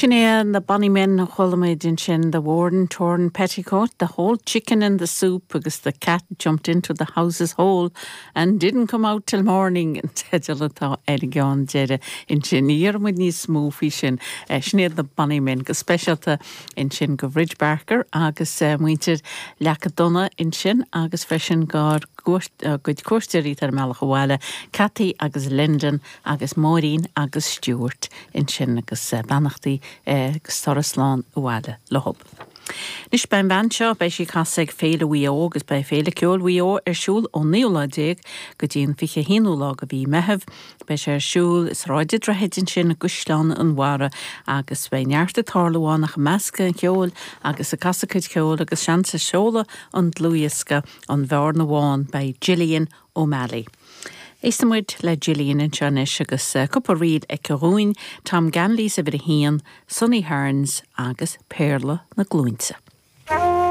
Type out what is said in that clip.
Sin é na Bonny Men a chuala muid ansin, The Worn Torn Petticoat, The Whole Chicken in the Soup agus The Cat Jumped Into the House's Hole and Didn't Come Out Till Morning an teideal atá ar an gceann deiridh ansin. Ní dhéarfaidh muid níos mó faoi sin. Sin iad na Bonny Men go speisialta ansin go Bhridge Barker agus muintir Leaca Donna ansin agus freisin dár gcuid cuairteoirí atá ar a mbealach abhaile, Cathy agus Lyndon agus Máirín agus Stuart ansin agus beannachtaí agus turas slán abhaile leothub. Anois beidh an bhean seo, beidh sí ag casadh ag Féile Mhaigh Eo agus beidh Féile Ceoil Mhaigh Eo ar siúl ón naoú lá déag go dtí an 21ú lá de mhí Meitheamh. Beidh sé ar siúl i Sráid an Droichid ansin i gCaisleán an Bharraigh agus beidh neart ag tarlú ann ach i measc an cheoil agus ag casadh cuid cheoil agus seans ag seoladh an dlúthdhiosca An Bhearna Bhán beidh Gillian O'Malley. Éistfidh muid le Gillian anseo anois agus cúpla ríl aici dhúinn, Tom Ganley's Uimhir a hAon, Sonny Hearns agus Péarla na Glúinte.